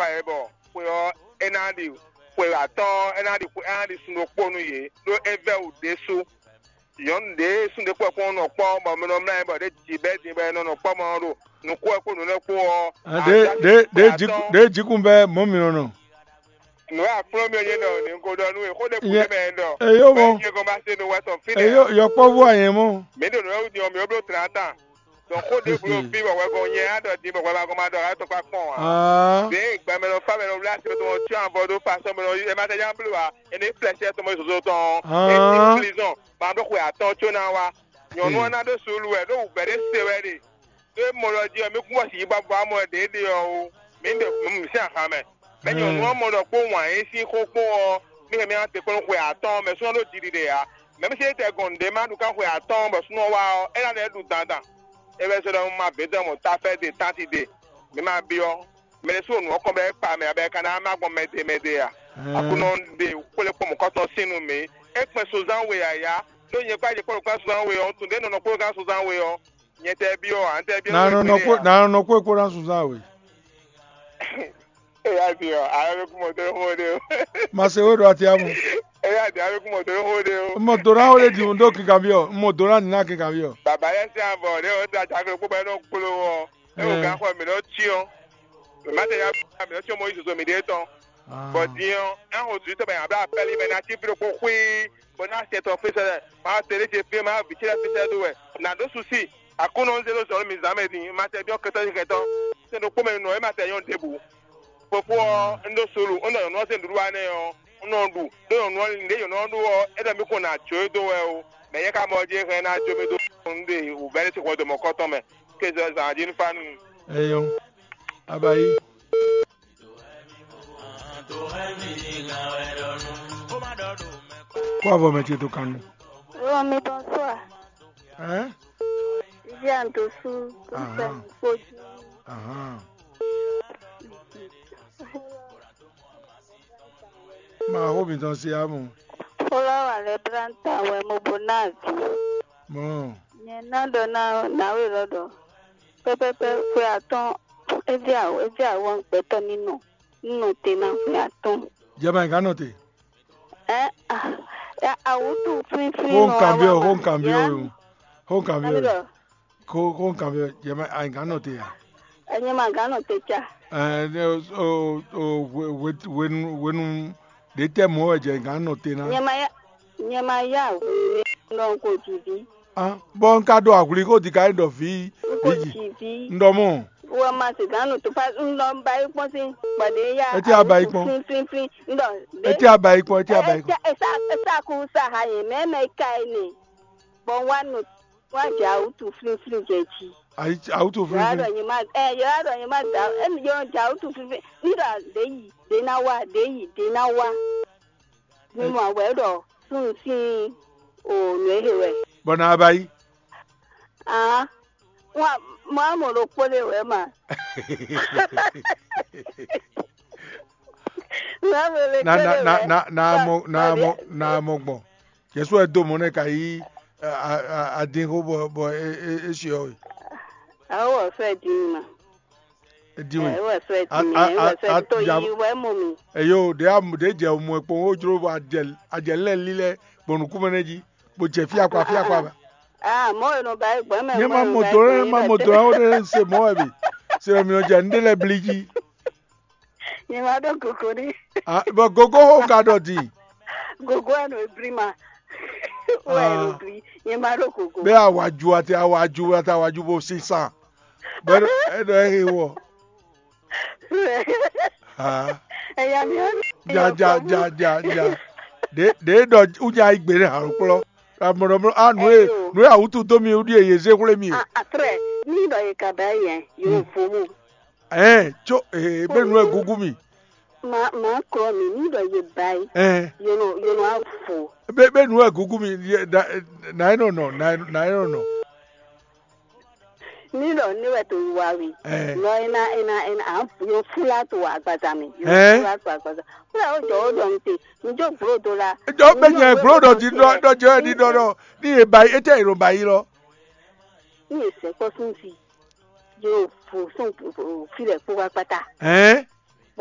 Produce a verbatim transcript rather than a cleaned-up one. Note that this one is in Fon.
kpa yě bɔ xwe ɔ́ é ná ɖi xwe atɔ́ɔ́n, é ná ɖi xwe é ná ɖi sun ɖokpó nú yě, ɖó é vɛ́ wǔ ɖésú. Nyɔ̌nu ɖě sun ɖé kpɔ́ kpɔ́n nɔ kpɔ́ bɔ mɛ nɔ mlá yɛ bɔ ɖě ji bɛ́ din bɔ è nɔ nɔ kpɔ́ mɔ ɔ́ ɖo nǔkú wɛ kpó nǔ lɛ́ɛ kpó ɔ́. Ɖě ɖě ɖě jǐkún bɛ́ mɔ̌ mi nɔ nɔ. Nǔ e akplɔ́n mì ɔ́ nyɛ ɖɔ ní un ko ɖɔ nú we, xó ɖé kú nɛ́ mɛ ɖɔ. Eyo mɔ. Bɛ́ nyɛ gɔn ba se nú wɛ tɔn fínɛ́. Eyo yɔkpɔ́vú anyɛ mɔ. Mǐ ɖo nǔ e wú din ɔ́, mǐ ó bló tlǎ tán. Dɔn xó ɖěbǔ ɖo fí bɔ hwɛ gɔn nyɛ á ɖɔ din bɔ hwɛ ma gɔn ma ɖɔ wɛ tɔn kpá kpɔ́n ǎ. Ɖěe gbɛmɛ nɔ fá mɛ nɔ wlá asi tɔn cyɔ avɔ ɖó fa sɔ́ mɛ nɔ é ma tɛ nya bló ǎ, é nɔ flɛ́sɛ tɔn mɔ zozo tɔn ɔ́, é cí prison, ma ɖó xwe atɔ́ɔ́n có ná wá. Nyɔ̌nu ɔ́ ná ɖó suúlu wɛ, ɖó wǔvɛ́ ɖé se wɛ ɖe. Ɖó é mɔ ɖɔ jí ɔ́, mí kún bɔ sǐ yi bɔ vɔ amɔ ɖě ɖe ɔ́ ó, mǐ ɖe mǐ sín ahan mɛ. Mɛ nyɔ̌nu ɔ́ mɔ ɖɔ kpó wǎn yí sín xó kpó ɔ́, mí hɛn mì ná te kpɔ́n nú xwe atɔ́ɔ́n mɛ súnɔ ɖó jiɖiɖe ǎ. Mɛ mí se tɛ gɔn nǔɖé ma ɖu kán xwe atɔ́ɔ́n bɔ súnɔ wá ɔ́, é ná lɛ́ ɖu dandan. É wɛ sɔ́ ɖɔ un ma vě dɔn mɔ tafɛ́ ɖe tánti ɖe, mǐ ma byɔ́. Mɛ ɖé sú nǔ ɔ́ kɔn bɔ é kpa mɛ ǎ, bɔ é ka ná má gbɔn mɛɖe mɛɖe ǎ. Aklúnɔ ɖe xwlé kpɔ́n mɔ̌kɔtɔn sín nú mǐ. É kpɛn sunzán we ǎ yá, ɖó nyɛ kpá jɛ kpɔ́ ɖo kpɛ́n sunzán we ɔ́, un tunwun ɖě nɔ nɔ kpó gán sunzán we ɔ́, nyɛ tɛ byɔ́ ǎ, un tɛ byɔ́ Na nɔ nɔ kpó na nɔ nɔ kpó kpó ná sunzán we. Eya din ɔ, ayɔ bɛ kún mɔ dó xó ɖe o. Ma se wé ɖo ati amu. Eya din, ayɔ bɛ kún mɔ dó xó ɖe o. Mɔ dona wo ɖe di ɖo kinkanvi ɔ, mɔ dona nina kinkanvi ɔ. Baba yɛ se avɔ ɖe o, da jaklo kpó bɛ nɔ kpló wɔ. E o gan xɔ mi nɔ tsi ɔ. Mɛ ma tɛ ya mi nɔ tsi ɔ mɔ yi zozo mi ɖe tɔn. Bɔ din ɔ, ɛn o zui tɔ bɛ abla apɛli mɛ na ti fi ɖokpó xwii, bɔ na sɛ tɔ fi sɛ, ma tɛ ɖe ce fi ma vi ce fi sɛ do wɛ. Na ɖo susi. Aklúnɔ zé ɖó zɔ̌ nú mì zǎn mɛ din, ma tɛ byɔ́ kɛtɔ́ yi kɛtɔ́. Sɛn ɖokpó mɛ nɔ é ma tɛ nyɔ́ ɖěbǔ. Fofó ɔ́, un ɖó solu, un ɖɔ nyɔ̌nu ɔ́ sín nǔɖuɖu wa nɛ́ ɔ́, un nɔ ɖu, ɖó nyɔ̌nu ɔ́ ɖě nyɔ̌nu ɔ́ ɖó ɔ́, é ɖɔ mì kɔn nɔ ajǒ e dó wɛ ó. Mɛ nyɛ ka mɔ jí é hɛn ná jó mì dó un ɖe wǔvɛ́ ɖé sín hwɛndo mɔ̌kɔtɔn mɛ. Kéze ɔ́ zǎn jí nú fá nú mi. Eyɔn, abayi. Kó avɔ mɛ ce dó kan nú. Romi, bonsoir. Hein? Viviane Dossou, Christian Kpodju. Ahan. Ma xó mǐtɔn se amɔ. Fɔlɔ́wa lɛ́ɛ blá ta wɛ mo bo ná avǐ. Mɔ. Nyɛ ná ɖɔ ná nǎwe lɔ ɖɔ pɛ́pɛ́pɛ́ xwe atɔ́ɔ́n é jɛ awɔ é jɛ awɔ gbɛtɔ́ ní nɔ ní nɔ te ná xwe atɔ́ɔ́n. Jɛ ma nyí ká nɔ te. Ɛ a awǔtu flínflín. Xó un kanbyɔ́, xó un kanbyɔ́ we o. Xó un kanbyɔ́ we. Xó xó un kanbyɔ́, jɛ ma a nyí ká nɔ te a? Ɛnyɛ ma gán nɔ te ca. Ɛ ne o o o hwe hwe hwenu hwenu ɖě tɛ mɔ̌ wɛ jɛ gán nɔ te ná. Nyɛ ma yá nyɛ ma yá hwenu nɔ ko jǐ ví. Bɔ un ka ɖo ahwlí xó di ka nyí ɖɔ vǐ vǐ ji. Un ɖɔ mɔ. Wɔ ma se gán nɔ to pa un ɖɔ un ba yi kpɔ́n sín gbɔdɛ yá. Etí a ba yi kpɔ́n. Flin flin flin un ɖɔ. Etí a ba yi kpɔ́n, etí a ba yi kpɔ́n. Esa esa ku sa ha yẹn mɛ mɛ ka yi ne. Bɔ un wá nɔ un wá jɛ awǔtu flin flin jɛ jí. Ayi awutu Yɔrɔ flínflín. Ɖɔ nyɛ ma ɛ yɔrɔ ɖɔ nyɛ ma da ɛ yɔ jɛ awǔtu flin flin ní ɖɔ ɖe yi ɖe ná wá ɖe yi ɖe ná wá. Mi mɔ wɛ ɖɔ súnnu sín o nǔ e he wɛ. Bɔ na ba yi. Ah, wọn mọ amọ ɖokpó ɖé wɛ ma. Mọ amọ ɖokpó na na ɖé na wɛ. Na na na mɔ na mɔ na mɔ gbɔn. Jesu wɛ dó mɔ nɛ ka yí adin xó bɔ bɔ é é é siɔ we. Awo wɔ fɛ di mi ma. É di we. Awo wɔ fɛ di mi. Awo wɔ fɛ di to yi wɛ mɔ mi. Eyo ɖe a ɖe jɛ mɔ kpɔn wo jlo bɔ ajɛ ajɛ lɛ li lɛ gbɔn nukún mɛ nɛ jí. Bó jɛ fíakpa fíakpa ba. Ah, mɔ e nɔ ba yi gbɔn mɛ. Nyɛ ma mɔ dó lɛ ma mɔ dó lɛ wo ɖe se mɔ wɛ bi. Se mi nɔ jɛ nu ɖe lɛ bli jí. Nyɛ ma ɖo gogo ɖi. Ah, bɔ gogo xo ka ɖɔ di. Gogo wɛ nɔ ebli ma. Wɛ nɔ bli. Nyɛ ma ɖo gogo. Bɛ awaju ati awaju ati awaju bo sisan. Bɛ e ɖɔ e he wɔ. Ah. Eya mi ɔn. Ja ja ja ja ja. De de ɖɔ unya igbe ne halokplɔ. Amɔɖɔmɔ a nu e nu e awutu dó mi wúɖi e yě zé xwlé mi e. Atrɛ, ní ɖɔ yě ka ba yɛ yóò fó mu. Ɛɛ tso ee bɛ nu e gugu mi. Ma ma klɔ mi ní ɖɔ yě ba yi. Ɛɛ. Yóò yóò afo. Bɛ bɛ nu e gugu mi na e nɔ nɔ na e nɔ nɔ. Ní ɖɔ ní wɛ to wa we. Ɛɛ. Nɔ ena ena ena a yɔ fúlá to agbaza mi. Yɔ fúlá to agbaza. Fúlá ó jɔ ó ɖɔ mi te. Mi jó gblo do la. Jɔ bɛ nyɛ gblo ɖɔ di ɖɔ ɖɔ jɛ di ɖɔ ɖɔ ní yě ba yi etɛ yě ɖo ba yi lɔ. Ní yě sɛ kpɔ sún fi. Yóò fo sún fi lɛ kpó wá kpátá. Ɛɛ.